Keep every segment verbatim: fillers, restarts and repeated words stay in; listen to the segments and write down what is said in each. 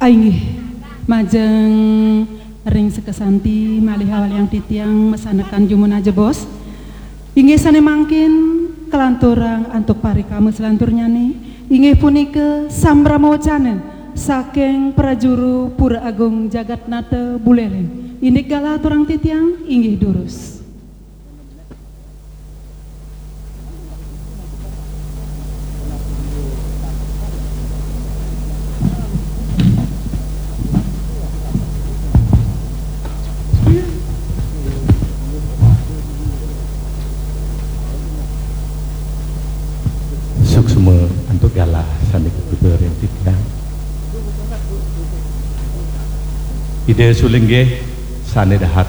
Inggih, majeng ring sekesanti malih awaliang titiang masanekan jumuna jebos. Inggih sane mangkin kalanturang antuk parikama selanturnyane, inggih punika sambrama wacana saking Prajuru Pura Agung Jagatnata Buleleng. Indik galah aturang titiang, inggih durus. Suksma antuk galah sane kapipa ring titiang. Ida sulinggih sane dahat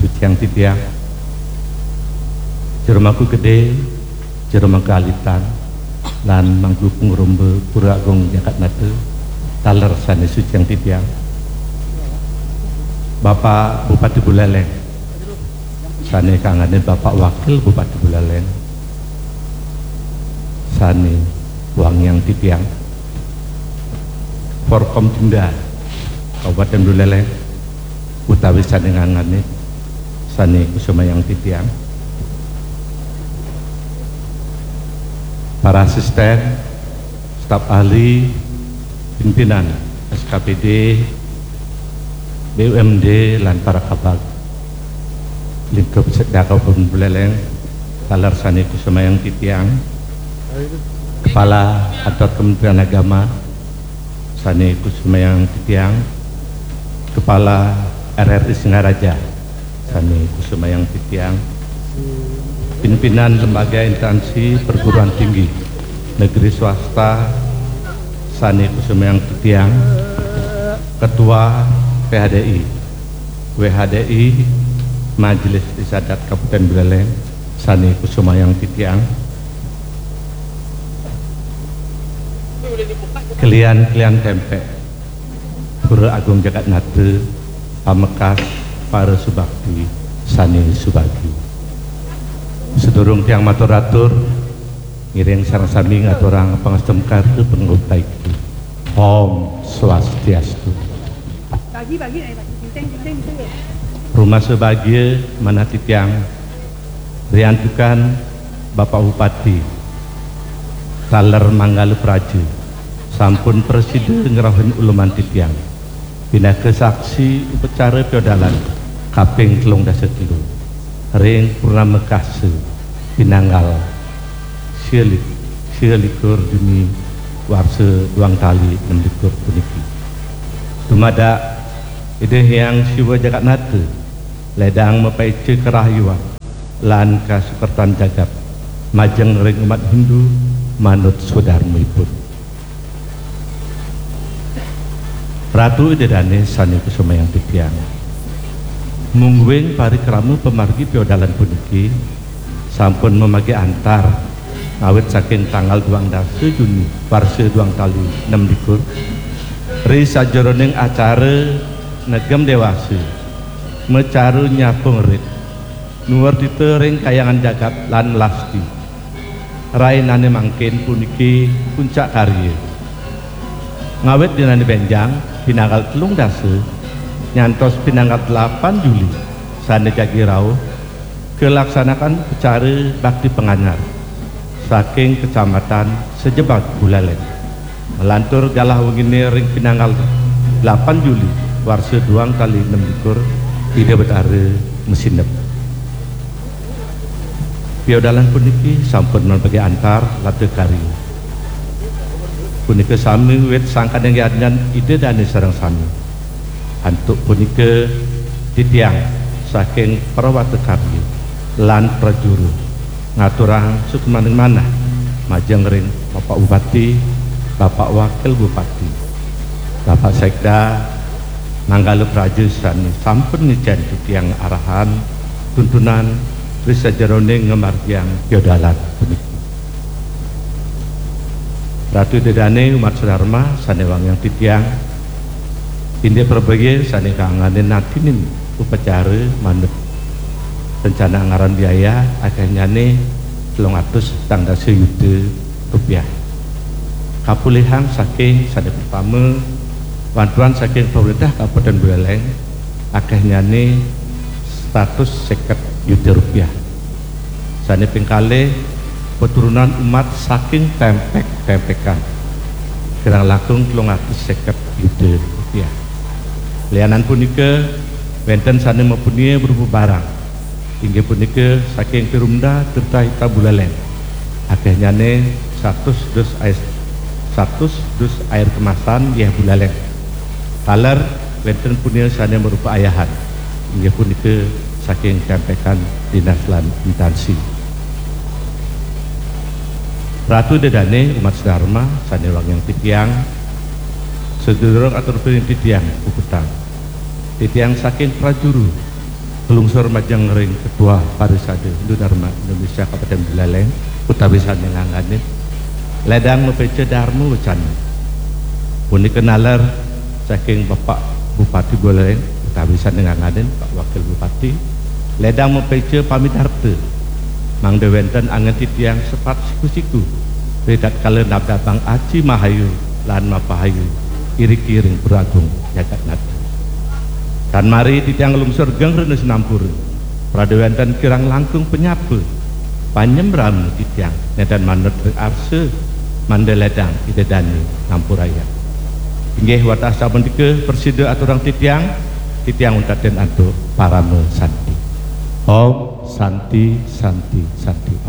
suciang titiang. Jero Mangku Gede, Jero Mangku Alitan, lan Mangku Pangrumba Pura Agung Jagatnata, taler sane suciang titiang. Bapak Bupati Buleleng, sane kanganin Bapak Wakil Bupati Buleleng, sane wangiang titiang. Forkompinda Kabupaten Buleleng, utawi sane nganganin, sane kusumayang titiang. Para asisten, staf ahli, pimpinan S K P D, B U M D, lan para kabag lingkup Sekda Kabupaten Buleleng, taler sane kusumayang titiang. Kepala Kantor Kementerian Agama, sane kusumayang titiang. Kepala R R I Singaraja, sane kusumayang titiang. Pimpinan lembaga instansi perguruan tinggi negeri swasta, sane kusumayang titiang. Ketua P H D I, W H D I, Majelis Desa Adat Kabupaten Buleleng, sane kusumayang titiang. Kelian-kelian tempek Pura Agung Jagatnata, pamekas para subakti sane subagi. Sedurung tiang matur-atur, ngiring sareng sami ngaturang pangastungkara pangutaiki. Om Swastiastu. Bagi, bagi, eh, bagi. Genteng, genteng, genteng, ya. Rumasa bagia manah titiang, riantukan Bapak Bupati taler Manggala Praja sampun prasida ngrauhin uluman titiang pinaka saksi upacara piodalan kaping telung dasa telu ring purnama kasa pinanggal sia lik-, sia likur Juni warsa duang tali nem likur puniki. Dumadak Ida Hyang Siwa Jagatnata ledang mapaica karahayuan lan kasukertan jagat majeng ring umat Hindu manut swadarmaipun. Ratu Ida Dane sane kusumayang titiang, mungguing parikrama pamargi piodalan puniki sampun mamagi antar ngawit saking tanggal duang dasa Juni warsa duang tali nem likur, ri sajeroning acara negem dewasa, macaru nyapung rit, nuwertita ring kayangan jagat lan lasti. Rainane mangkin puniki puncak karya. Ngawit dinane benjang, pinanggal telung dasa, nyantos pinanggal delapan Juli, sane jagi rauh, kalaksanakan upacara bakti panganyar saking Kecamatan Sejebag Buleleng. Malantur galah wengine ring pinanggal delapan Juli, warsa duang tali nem likur, Ida Betara masineb. Piodalan puniki sampun mapagi antar lata karya. Punika sami wit sangkaning yadnyan Ida Dane sareng sami. Antuk punika titiang saking Prawata Karya lan Prajuru ngaturang suksmaning manah majeng ring Bapak Bupati, Bapak Wakil Bupati, Bapak Sekda, Manggala Praja sane sampun ngicen titiang arahan tuntunan ri sajeroning ngamargiang piodalan puniki. Ratu Ida Dane umat sadarma sane wangiang titiang, indik prabaya sane kanganin natinin upacara manut rencana anggaran biaya akehnyane telung atus petang dasa yuta rupiah. Kapulihang saking sane pertama, Bantuan saking pemerintah Kabupaten Buleleng akehnyane satus seket yuta rupiah. Sane ping kalih, peturunan umat saking tempek-tempekan kirang langkung telung atus seket yuta rupiah. Lianan punika, wenten sane mapunia berupa barang, inggih punika saking Perumda Tirta Hita Buleleng, akehnyane satus dus air, satus dus air kemasan yeh Buleleng. Taler wenten punia sane marupa ayahan, inggih punika saking tempekan dinas lan intansi. Ratu Ida Dane, umat sedharma sane wangiang titiang, sedurung atur piring titiang puputang. Titiang saking Prajuru, nglungsur majeng ring Ketua Parisade Hindu Dharma Indonesia Kabupaten Buleleng, utawi sane ngangganin ledang mapeca Dharma Wacana. Punika naler saking Bapak Bupati Buleleng, utawi sane ngangganin Pak Wakil Bupati, ledang mapeca pamidarta, mangda wenten angen titiang sepat siku-siku, ritatkala nabdabang aji mahayu lan mapahayu iriki ring Pura Agung jagat nata. Tan mari titiang nglungsur geng rena sinampura, prade wenten kirang langkung panyapa, panyembrama titiang nenten manut ring arsa, mangda ledang Ida Dane ngampurayang. Inggih, wantah sapunika prasida aturang titiang, titiang untatin antuk parama santi. Om Santi, Santi, Santi Om.